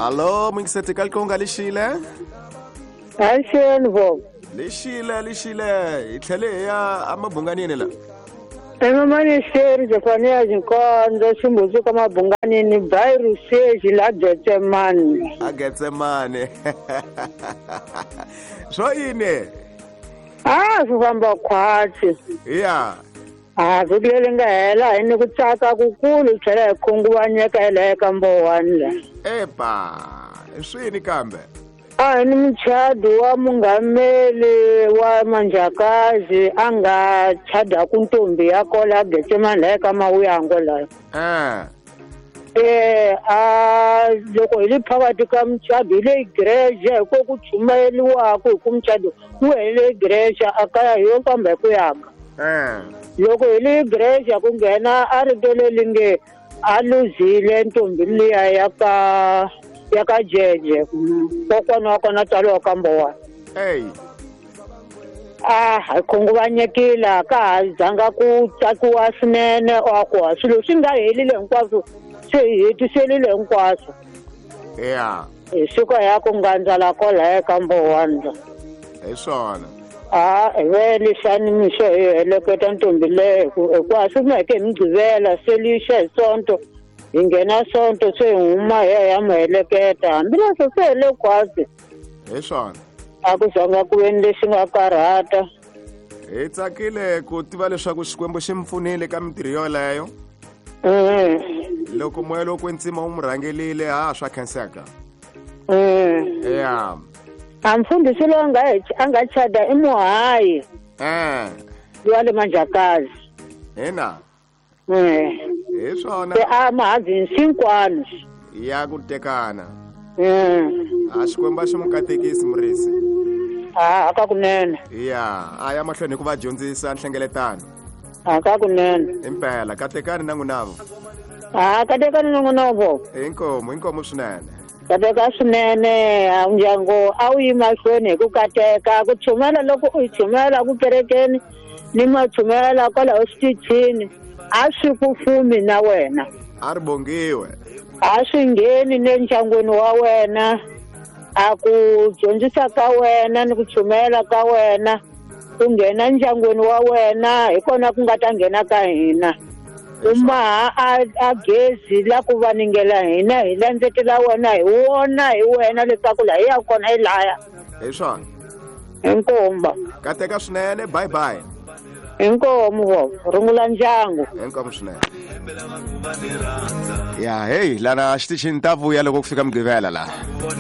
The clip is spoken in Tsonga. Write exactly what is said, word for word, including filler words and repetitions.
Alo, mingiseti ka likonga lixile? Axeni vo. Lixile, lixile. Hi tlhele hi ya emabunganini la. Emamaniseri Jefania Nkonzo Ximbuzu ka mabunganini Bairu Seji la Getsemane. A Getsemane. Swo yini? Ah, swi famba khwatsi. Ya. Ah, vhiki leri nga hela hi ni ku tsaka kukulu hi tlhela hi khunguvanyeka hi laha eka Mbowani la. Epa, swini kambe? A hi ni muchadi wa mungameli wa Manjakazi a nga chadaku ntombi ya kola Getsemane laha eka Mawuyango laha. Eh. Eh, a loko hi le phakathi ka muchado hi le igreja hi ko ku chumayeriwaka hi ku muchado wu hele igreja a kaya hi yo famba hi ku yaka. Eh. Loko hi le igreja ku nghena a rito leri nge a luzile ntombi liya ya ka ya ka Jeje kokwana wa kona tswariwa ka Mbowani. Ey. A hi khunguvanyekile a ka ha zanga ku tsakiwa swinene a ku swilo swi nga helile hinkwaswo se hi hetiselile hinkwaswo. Ya. Hi suka ya ku ngandzala kwalaya eka Mbowani. Hi swona. A hi ve lexani mixo hi heleketa ntombi leyo hikuva swi humeke hi Mugqivela se lixa hi Sonto hi nghena Sonto se hi huma hi ya hi ya mu heleketa hambileswo se hele khwatsi. Hi swona. A ku zanga ku ve ni lexi nga karhata. Hi tsakile ku tiva leswaku Xikwembu xi mi pfunile ka mintirho yoleyo. Mm. Loko moya lowo kwetsima wu mu rhangelile ha swa khenseka. Mm. Ya. A mfundhisi loyi a nga a nga chada i muhayi. Eh. Wa le Manjakazi. Ina. Mm. Hi swona. Se a mahazi hinkwano. Ya ku tekana. Mm. A Xikwembu a xi mu katekisi murisi. A aka kunene. Ya, a ya mahlweni hi ku va dyondzisa nhlengeletano. Aka kunene. Impela katekani na n'winavo. A katekani na n'winavo. Inkomu, inkomu swinene. Kateka swinene a ndyangu a wu yi mahlweni hi ku kateka ku chumela loko u yi chumela ku kerekeni ni machumela kwalaho xitichini a swi ku fumi na wena. A ri bongiwe. A swi ngheni ne ndyangwini wa wena a ku dyondzisa ka wena ni ku chumela ka wena ku nghena ndyangwini wa wena hi kona ku nga ta nghena ka hina. U maha a a gezi la ku vaningela hina hi landzetela wena hi wona hi wena leswaku laha hi ya kona hi laya. Hi swona. Inkomba. Kateka swinene, bye bye. Inkomu vo, rungula ndyangu. Inkomu swinene. Ya, hey, lana xitichini ta vuya loko ku fika Mugqivela la.